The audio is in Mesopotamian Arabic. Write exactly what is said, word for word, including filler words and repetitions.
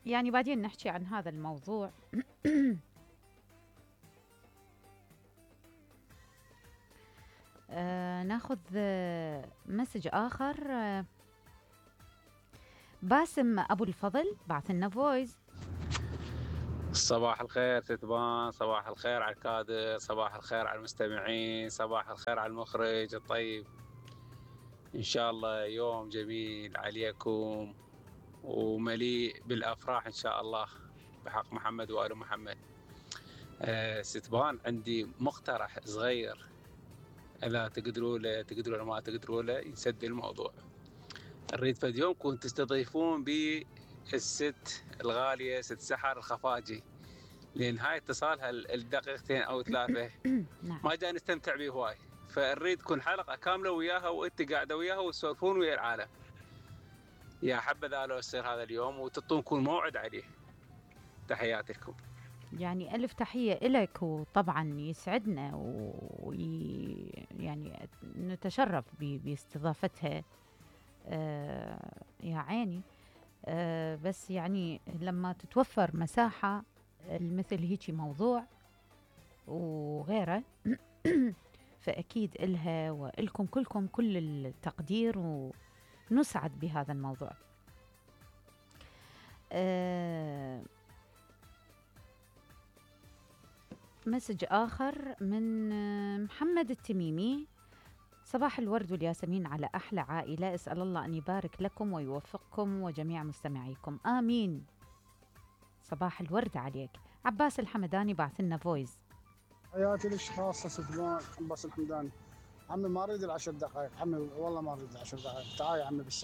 يعني بعدين نحكي عن هذا الموضوع. آه ناخذ آه مسج آخر. آه باسم أبو الفضل بعث لنا فويس. صباح الخير ستبان، صباح الخير على الكادر، صباح الخير على المستمعين، صباح الخير على المخرج الطيب. إن شاء الله يوم جميل عليكم ومليء بالأفراح إن شاء الله بحق محمد وآل محمد. أه ستبان عندي مقترح صغير، إذا تقدروا له تقدروا له ما تقدروا له يسد الموضوع. نريد فد يومكم تستضيفون بي الست الغالية ست سحر الخفاجي، لان هاي اتصالها الدقيقتين او ثلاثه ما جاي نستمتع به هواي، فنريد تكون حلقه كامله وياها وانت قاعده وياها وتسولفون ويا العالم. يا حبذا لو يصير هذا اليوم وتعطونكم موعد عليه. تحياتي لكم. يعني ألف تحية إلك، وطبعا يسعدنا وي يعني نتشرف باستضافتها. آه يا عيني. آه بس يعني لما تتوفر مساحة مثل هيجي موضوع وغيره فأكيد إلها وإلكم كلكم كل التقدير ونسعد بهذا الموضوع. آه مسج آخر من محمد التميمي. صباح الورد والياسمين على أحلى عائلة، أسأل الله أن يبارك لكم ويوفقكم وجميع مستمعيكم، آمين. صباح الورد عليك. عباس الحمداني بعث لنا فويس. حياتي للاشخاص ستبان. عباس الحمداني. عمي ما اريد العشر دقائق، عمي والله ما اريد العشر دقائق، تعال يا عمي بالساعة